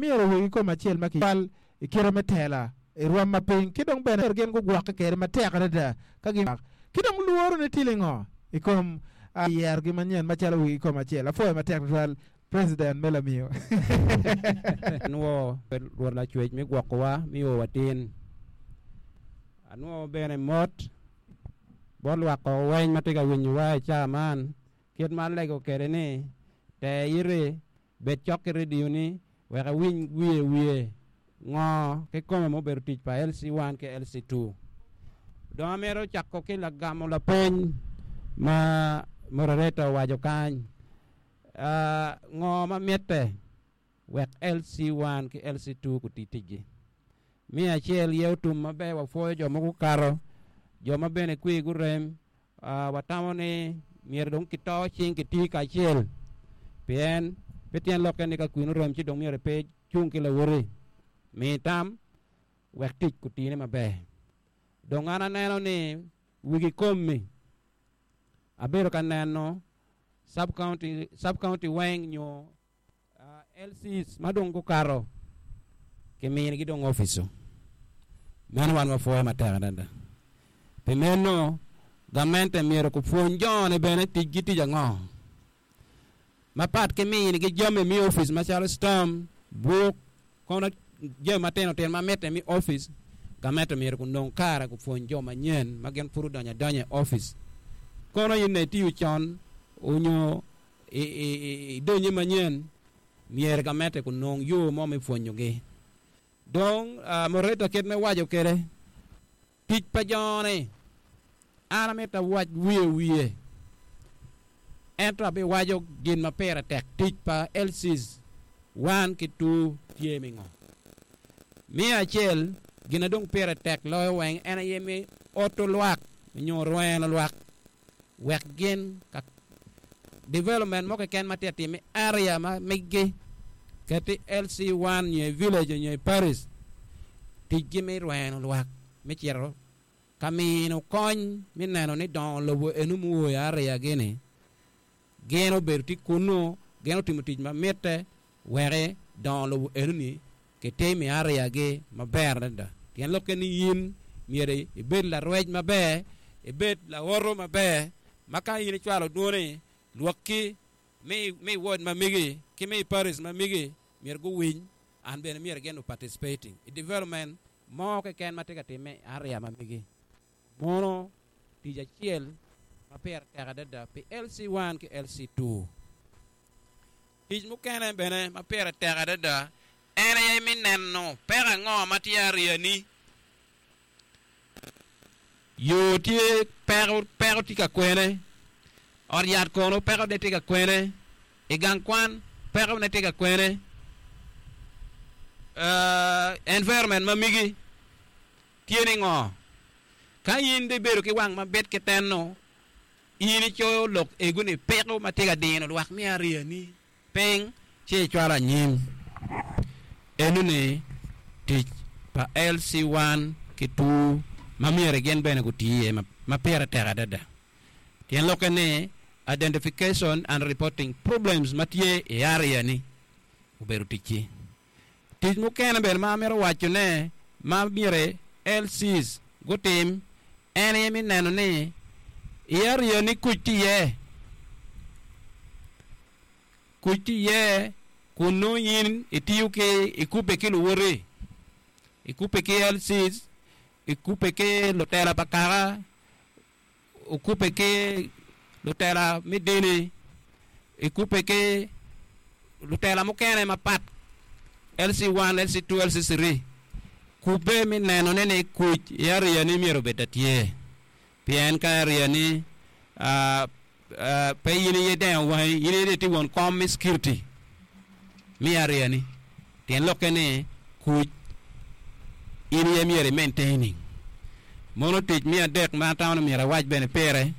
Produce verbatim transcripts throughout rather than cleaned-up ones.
Myero wegi kom acel ma kicwal i kite me tela i rwom ma piny ki dong bene gin gugwokke kwede matek adada ka gin ki dong lworo ni tye lingo i kom yerogi manyen macalo wegi kom acel. Apwoyo matek tutwal President me lamiyo. Anwo Rwot Lacwec me gwokowa mi o watin. Anwo bene mot bot lwak koko weny ma tye ka winyowa i caa man kit ma alego kwede ni te iti bed cok ki radio ni wek iwiny wiye wiye ngo kikome mubedo tic pa L C one ki L C two. Dong amito cako ki lagamo lapeny ma moderator owaco kany. Uh, ngo ma mitte wek L C one ki L C two guti ticgi. Mi acel ye otum maber wapwoyo jo mogo kato, jo ma bene kwi gurem, uh, watamo ni myero dong kito cing kiti kacel pien pe tyen lokke ni ka kwin orem ci dong myero pe cung ki lawoti. Mi tam wek tic kutine maber. Dong an aneno ni wigi kommi abedo ka neno sub-county, sub-county weng nyo, uh, L Cs ma dong gukato kiminigi dong ofico. Meno wan wapwoyo matek adada. Pi meno gamente myero kupwony jone bene ticgi tic ango. Mapat ki minigi jami mi ofic macalo stamp, buk, kono jami matino tino ma mitte mi ofic, gamente myero kunong kare kupwony jo manyen ma gin pud odonyo adonya i ofic. Kono in ne itiyo con onyo idonye manyen, myero gamente kunong yo mo me pwonyogi. Dong, uh, moderator kit me waco kwede, tic pa jone, an amito awac wiye wiye, ento abiwaco gin ma pire tek, tic pa L Cs one ki two tye mi ngo. Mi acel, gin na dong pire tek loyo weng en aye mi oto lwak nyo rweno lwak wek gin ka development mo keken ma tye atime area ma migi keti L C one nyo i village nyo i parish ticgi mi rweno lwak mi cito ka mino kony mi neno ni dongo lobo eno muoyo area gini gin obedo tye kunu gin otimo tic ma mitte wek dongo lobo eno ni kitimo i area gi maber adada. Tyen lokke ni in myero ibed larwec maber, ibed lawoto maber, ma ka in icwalo dwoni lwakki mi, mi ward ma migi ki mi parish ma migi myero guwiny an bene myero gin participating i development mo keken ma tye ka time i area ma migi. Mono tic acel ma pire tek adada pi L C one ki L C two. Tic mukene bene ma pire tek adada en aye mi neno peko ango ma tye area ni. Yo tye peko, peko tye ka kwene, ot yat kono peko ne tye ka kwene, i gang kwan peko ne tye ka kwene, uh, environment ma migi tye ni ngo. Ka in dong ibedo ki wang mabit ki teno, in icoyo lok ego ni peko ma tye ka dino lwak mi area ni piny ci icwalo anyim. Eno ni tic pa L C one ki two ma myero gin bene guti iye ma, ma pire tek adada. Tyen lokke ni identification and reporting problems ma tye i area ni obedo ticci. Tic mukene bene ma amito wacone ma myero L Cs gutim en aye mi neno ni i area ni kuc tye iye. Kuc tye iye kun nongo in itiyo ki ikubbe ki luwoti, ikubbe ki L Cs, ikubbe ki lutela pa kaka, okubbe ki lutela me dini, ikubbe ki lutela mukene mapat, L C one, L C two, L C three. Kubbe mi neno ne ni kuc i area ni myero obed tye. Pien ka area ni, uh, uh, pe in iye dengo wangi, in iye tye won kom mi security mi area ni. Tyen lokke ni kuc in iye myero i maintaining. Mono tic mi adek ma atamo ni myero awac bene pire.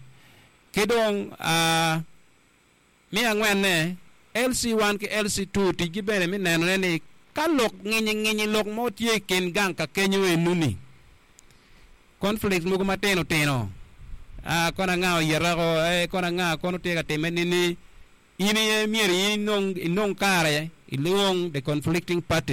Ki dong, uh, mi angwenne, L C one ki L C two ticgi bene mi neno ne ni ka lok nginyi nginyi lok mo tye i kin gang ka kenyo enuni. Conflicts mogo matino tino. Ah, kono anga oyetako, eh, kono anga kono tye ka time nini. In iye myero inong, inong kare, ilwong the conflicting party.